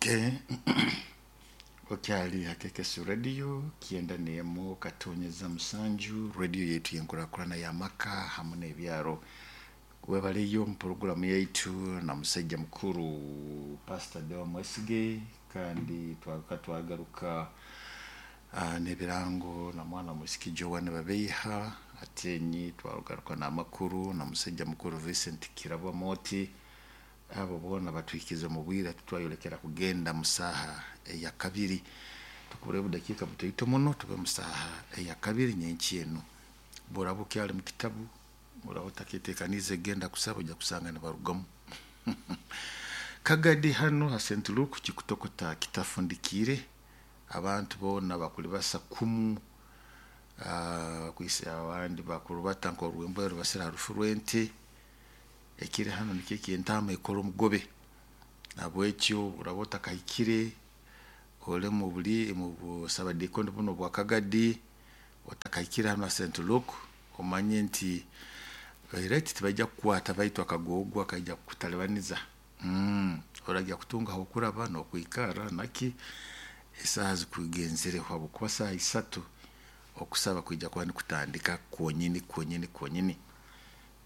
Okay. Okyali ha KKS Radio 91.7, radio yaitu yenkurakurana y'amaka hamu n'ebyaro. Webaleyo mu poroguramu yaitu na musajja mukuru Pastor Deo Mwesige, kandi twagaruka twagaruka n'ebirango na mwana mwisiki Joan Babeiha Atenyi, twagaruka n'amakuru na musajja mukuru Vincent Kirabwa Moti. Abo boona batwikize omu bwire tutwayolekera kugenda mu saaha eya kabiri. Tukubura obudakiika butaito muno tube mu saaha eya kabiri nyenkya enu. Bworaba okyali mu kitabu, oraba otaketekaniize kugenda kusaba, ojja kusanga nibarugamu. Kagadi hanu ha St. Luke kikutokota kitafundikiire, abantu boona bakulibasa kumu, kwisa abandi bakurubata nk'orwembwa rubasire ha rufu rw'ente. Ekiri hanu nikyo eky'entaama ekora omugobe. Nahabwekyo oraba otakahikire ori mu buri mu busabadiikoni bunu obwa Kagadi, otakahikire hanu ha St. Luke, omanye nti right tibaija kukukwata baitu akagoogwa kaija kukutalibaniza. Orajya kutunga ah'okuraba n'okwikarra naki esaaha zikugenzireho habwokuba saaha isatu okusaba kwija kuba nikutandika kwonyini kwonyini kwonyini.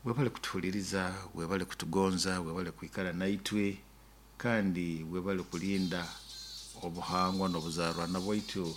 Webale kutuhuliriza, webale kutugonza, webale kwikara naitwe, kandi webale kulinda obuhangwa n'obuzaarwana bwaitu.